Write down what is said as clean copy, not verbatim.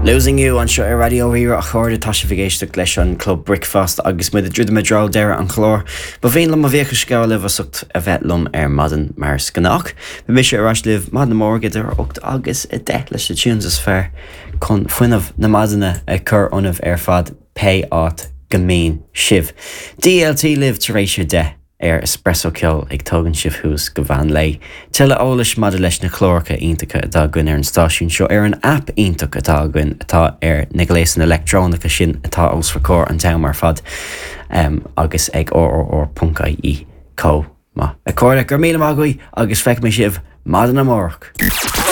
Losing You anseo ar Raidió Rí-Rá a chairde, tá sibh ag éisteacht leis an Club Bricfeasta agus muid ag druidim i dtreo deireadh an chláir. Ba mhian liom mo bhuíochas a ghabháil libh as ucht a bheith liom ar maidin mar is gnách. Beidh mise ar ais libh maidin amárach idir 8 agus 10 leis na tunes is fearr chun fuinneamh na maidine a chur ionaibh ar fad pé áit go mbíonn sibh. DLT libh tar éis a 10 ar Espresso Ceol ag tógaint sibh thuas go mheán lae. Tuilleadh eolais maidir leis na cláracha iontacha atá againn ar an stáisiún seo ar an aip iontach atá againn atá ar na gléasanna leictreonacha sin atá os bhur gcomhair an t-am ar fad agus ag rrr.ie chomh maith. A chairde, go raibh míle maith agaibh agus feicfidh mé sibh maidin amárach!